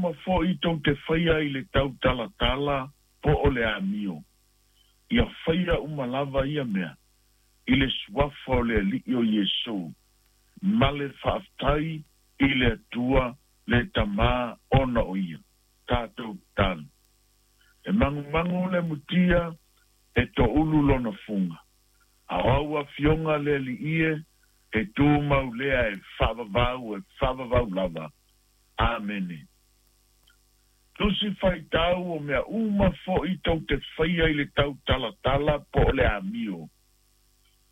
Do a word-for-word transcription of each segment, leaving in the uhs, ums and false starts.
uma fo'i tou te faia i le tautalatala po o le amio, ia faia uma lava ia mea i le suafa o le Alii o Iesu ma le faafetai i le Atua le Tamā ona o ia. Tatou tatalo. E magumagu le mutia e toulu lona fuga. A o au afioga le Alii e, e tumau lea e faavavau e faavavau lava. Amene. Tusi faitau o mea uma fo'i tou te faia i le tautalatala po o le amio,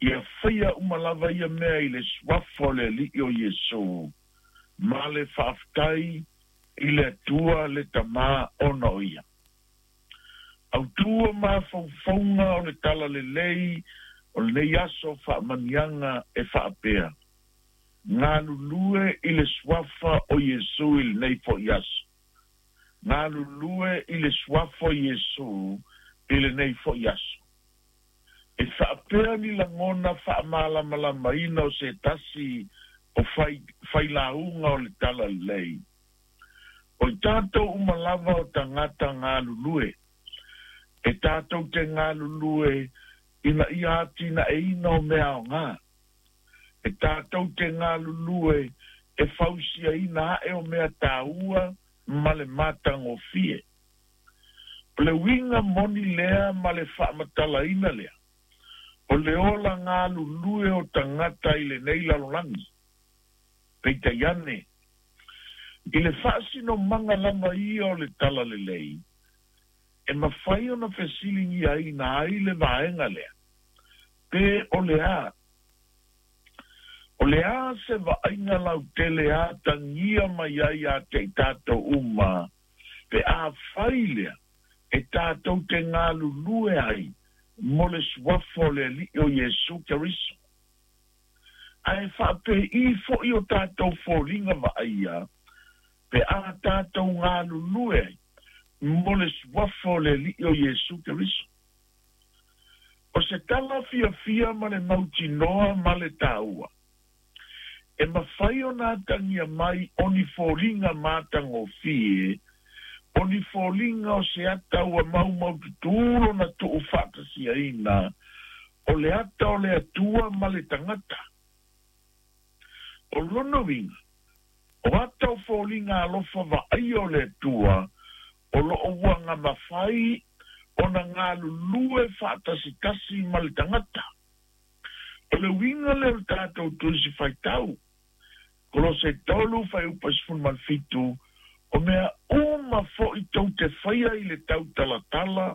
ia faia uma lava ia mea i le suafa o le Alii o Iesu ma le faafetai i le Atua le Tamā ona o ia. Autū o mafaufauga o le talalelei o lenei aso faamaniaga e faapea, galulue i le suafa o Iesu i lenei fo'i aso. Galulue i le suafa o Iesu i lenei fo'i aso. E faapea ni lagona faamalamalamaina o se tasi o fai, failauga o le talalelei. O i tatou uma lava o tagata galulue. E tatou te galulue ina ia atinaeina o mea aoga. E tatou te galulue e fausiaina ae o mea taua ma le matagofie. O le uiga moni lea ma le faamatalaina lea, o le ola galulue o tagata i lenei lalolagi. Peitai ane, i le faasinomaga lava ia o le talalelei, e mafai ona fesiligiaina ai le vaega lea, pe o le a. O le a se vaaiga lautele atagia mai ai ia te i tatou uma, pe afai lea e tatou te galulue ai mo le suafa o le Alii o Iesu Keriso. Ae faapei fo'i o tatou foliga vaaia, pe a tatou galulue ai mo le suafa o le Alii o Iesu Keriso. O se tala fiafia ma le mautinoa ma le taua, e mafai ona atagia mai o ni foliga matagofie, o ni foliga o se ata ua maumaututu lona tuufaatasiaina, o le ata o le Atua ma le tagata. O lona uiga, o ata o foliga alofa vaaia o le Atua, o loo ua gamafai ona galulue faatasitasi ma le tagata. O le uiga lea o le tatou tusi faitau, Kolose tolu fuaiupu sefulu ma le fitu, o mea uma fo'i tou te faia i le tautalatala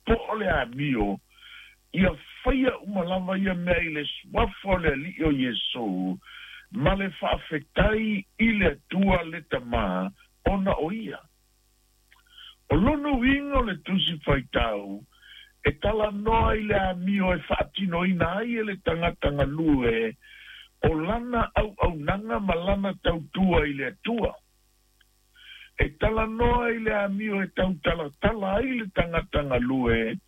po o le amio, ia faia uma lava ia mea i le suafa o le Alii o Iesu ma le faafetai i le Atua le Tamā ona o ia. O lona uiga o le tusi faitau, e talanoa i le amio e faatinoina ai e le tagata galue o lana auaunaga ma lana tautua i le Atua. E talanoa i le amio e tautalatala ai le tagata galue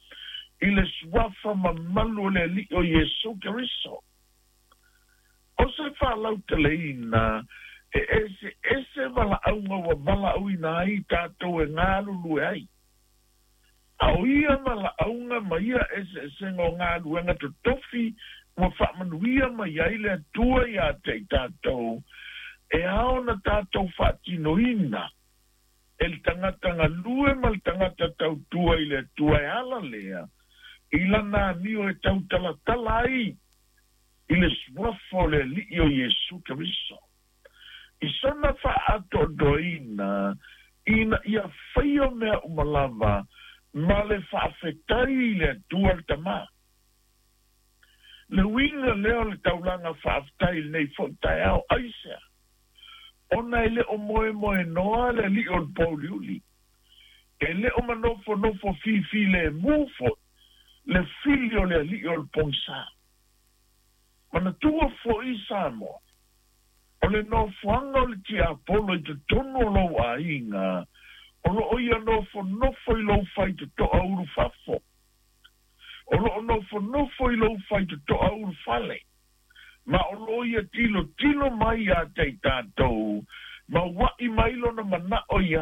i le suafa mamalu o le Alii o Iesu Keriso. O se faalauteleina e eseese valaauga ua valaauina ai tatou e galulue ai. A o ia valaauga ma ia eseesega o galuega totofi ua faamanuia mai ai le Atua ia te i tatou, e ao ona tatou faatinoina e le tagata galue ma le tagata tautua i le Atua e ala lea i lana amio e tautalatala ai i le suafa o le Alii o Iesu Keriso. I sona faaatoatoaina ina ia faia mea uma lava ma le faafetai i le Atua le Tamā. Le uiga lea o le taulaga faafetai i lenei fo'i taeao, aisea? Ona e le o moemoenoa le Alii o le pouliuli. E le o manofonofo fifilemu fo'i le fili o le Alii o le pogisa. Manatua fo'i Samoa, o le nofoaga o le tiapolo i totonu o lou aiga, o loo ia nofonofo i lou faitotoa ulufafo. O loo nofonofo i lou faitotoa ulufale. Ma o loo ia tilotilo mai ia te i tatou, ma ua'i mai lona manao ia